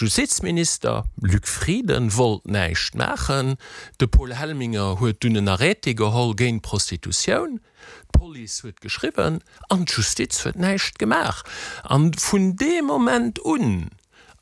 Justizminister Luc Frieden wollt näischt maachen, de Paul Helminger huet dunn en Arrêté geholl géint d'Prostitutioun, d'Police huet geschriwwen an d'Justiz huet näischt gemaach. An vun deem Moment un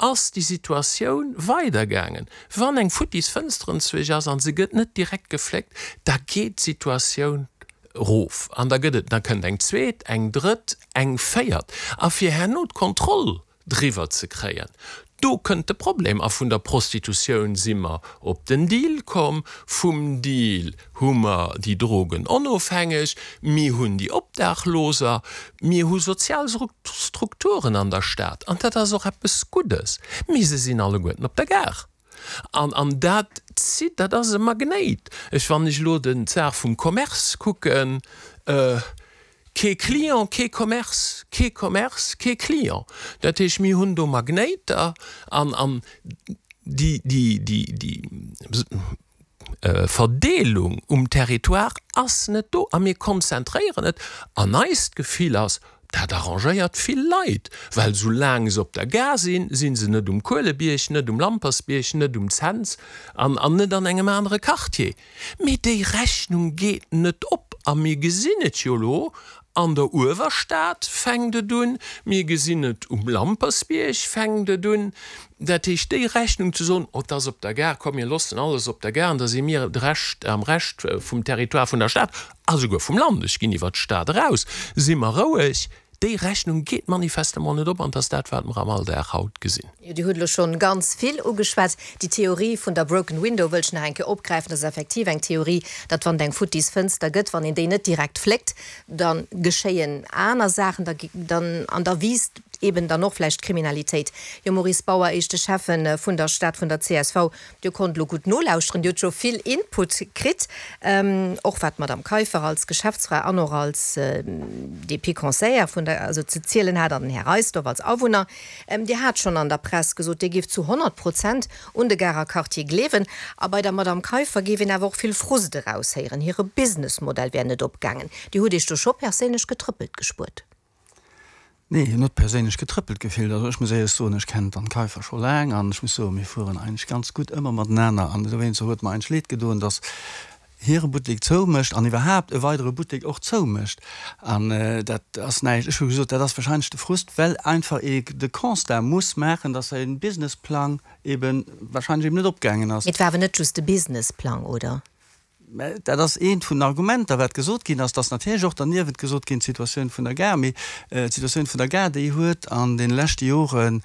ass déi Situatioun weidergaangen. Wann eng futtis Fënster enzwuesch ass an se gëtt net direkt gefléckt, da geet d'Situatioun erof an da gëtt et, da kënnt eng zweet, eng drëtt, eng véiert. A fir herno d'Kontroll driwwer ze kréien, do kënnt de Problem. A vun der Prostitutioun si mer op den Deal komm, vum Deal hu mer déi Drogenonofhängeg, mir hunn déi Obdaachloser, mir hu sozial Strukturen an der Stad, an dat ass och eppes Guddes, mee se sinn alleguerten op der Gare. An, an dat zitt, dat ass e Magnéit. Ech, wann ech elo den, d'Saach vum Commerce kucken, kee Client, kee Commerce, kee Commerce, kee Client. Dat heescht, mir hunn do Magnéiter an, an déi, déi, déi, déi, Verdeelung um Territoire ass net do a mir konzentréieren et an eist Gefill ass, dat arrangéiert vill Leit, well soulaang se op der Gare sinn, si se net um Kuelebierg, net um Lampersbierg, net um Cents an an net an engem anere Quartier. Mee déi Rechnung geet net op a mir gesinn et jo elo An der Uewerstad fänkt et un, mir gesinn et um Lampersbierg fänkt et un. Dat heescht, déi Rechnung ze soen, oh, et ass op der Gare, komm mir loossen alles op der Gare an da si mir de Rescht, am Rescht vum Territoire vun der Stad a souguer vum Land, ech ginn iwwert d'Stad eraus, si mer roueg, déi Rechnung geet manifestement net op an et ass dat, wat mer am Alldag haut gesinn. Jo, Dir hutt elo schonn ganz vill ugeschwat. Déi Theorie vun der broken window wëll ech nach eng Kéier opgräifen. Dat ass effektiv eng Theorie, datt wann et eng futtis Fënster gëtt, wann een déi net direkt fléckt, da geschéien aner Saachen, da, dann, an da wiisst eben dann och vläicht d'Kriminalitéit. Jo, Maurice Bauer, éischte Schäffe vun der Stad vun der csv, Dir konnt elo gutt nolauschteren, Dir hutt scho vill Input kritt, och wat d'Madame Kaiffer als Geschäftsfra an och als DP-Conseillère vun der, also ze zielen hat an den Här Reisdorf als Awunner. Dir hat schonn an der Press gesot, Dir géift zu 100 Prozent un de Garer Quartier gleewen. A bei der Madame Kaiffer géif een awer och vill Frust eraushéieren, hire Businessmodell wär net opgaangen. Dir hutt Iech do scho perséinlech getrëppelt gespuert. Nee, hien huet perséinlech getrëppelt gefillt. Also ech muss éierlech soen, ech kennen d'Anne Kaiffer scho laang an ech muss soen, mir fueren eigentlech ganz gutt ëmmer matenaner an dowéinster huet mer eigentlech leed gedoen, datt hire Buttek zoumécht an iwwerhaapt e weidere Buttek och zoumécht. An dat ass näischt, ech hu gesot, dat ass wahrscheinlech de Frust, well einfach ee de Constat muss maachen, datt säi Businessplang eebe wahrscheinlech eeben net opgaangen ass. Mee et war awer net just de Businessplang, oder? Mä dat ass eent vun den Argumenter, wat gesot ginn ass. Et ass natierlech och derniewent gesot ginn, d'Situatioun vun der Gare. Mee d'Situatioun vun der Gare, déi huet an deene leschte Joren,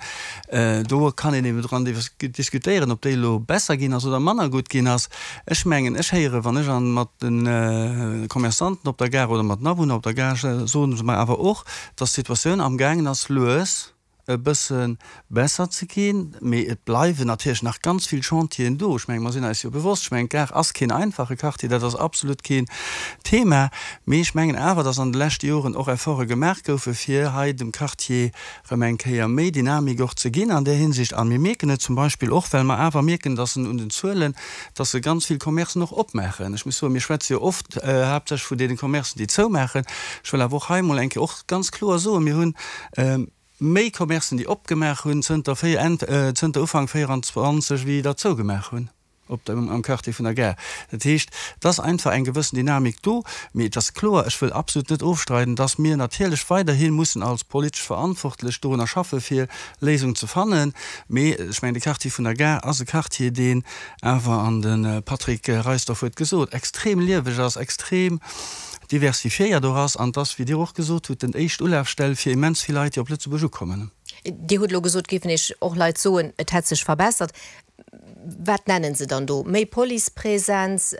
do kann een eben dran diskutéieren, ob déi elo besser ginn ass oder manner gutt ginn ass. Ech mengen, ech héieren, wann ech mat de Commerçanten op der Gare oder mat den Awunner op der Gare, soe se mer awer och, dass d'Situatioun amgaangen ass lues e bësse besser ze ginn, mee et bleiwen natierlech nach ganz vill Chantieren do. Ech mengen, mer sinn eis jo bewosst, ech mengen, d'Gare ass keen einfache Quartier, dat ass absolut keen Thema, mee ech mengen awer, dass an de leschte Joren och Efforte gemaach goufe fir hei dem Quartier erëm eng Kéier méi Dynamik och ze ginn an där Hinsicht. A mir mierken et zum Beispill och, well mer awer mierken, dass en un den Zuelen, dass se ganz vill Commercen och opmaachen. Ech muss soen, mir schwätze jo oft haaptsächlech vun deene Commercen, déi zoumaachen. Ech wëll awer och hei emol eng Kéier och ganz kloer soen, mir hunn méi Commercen, déi opgemaach hunn zënter véier, Enn, zënter Ufank 24, wéi der zougemaach hunn op dem, am Quartier vun der Gare. Dat heescht, et ass einfach eng gewëssen Dynamik do. Mee et ass kloer, ech wëll absolut net ofstreiden, dass mir natierlech weiderhi mussen als politesch Verantwortlech dorunner schaffe fir Léisungen ze fannen. Mee ech mengen, de Quartier vun der Gare ass e Quartier, deen awer, an de Patrick Reisdorf huet gesot, extrem lieweg ass, extrem diversifiéiert och ass an dass, wéi Dir och gesot hutt, den éischt Ulafstell fir immens vill Leit, déi op Lëtzebuerg ukommen. Dir hutt elo gesot, géifen Iech och Leit soen, et hätt sech verbessert. Wat nennen se dann do? Méi Policepresenz,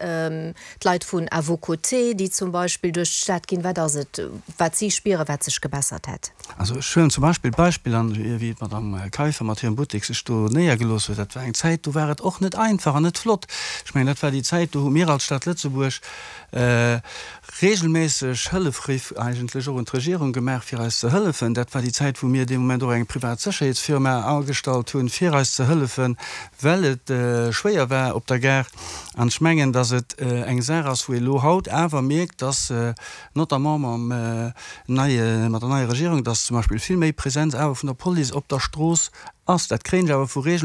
d'Leit vun À vos côtés, déi zum Beispill duerch d'Stad ginn. Wat ass et, wat si spieren, wat sech gebessert hätt? Also ech huelen zum Beispill d'Beispill an, wéi d'Madame Kaiffer mat hirem Buttek sech do néiergelooss huet. Dat war eng Zäit, do war et och net einfach an net flott. Ech mengen, dat war déi Zäit, do hu mir als Stad Lëtzebuerg regelméisseg Hëllefriff eigentlech och un d'Regierung gemaach, fir eis ze hëllefen. Dat war déi Zäit, wou mir dee Moment och eng privat Sécherheetsfirma agestallt hunn, fir eis ze hëllefen, well et schwéier war op der Gare. An ech mengen, dass et eng Saach ass, wou ee lo haut awer mierkt, dass notamment mam neie, mat der neier Regierung, dass zum Beispill vill méi Präsenz awer vun der Police op der Strooss ass. Dat kréien ech awer vu.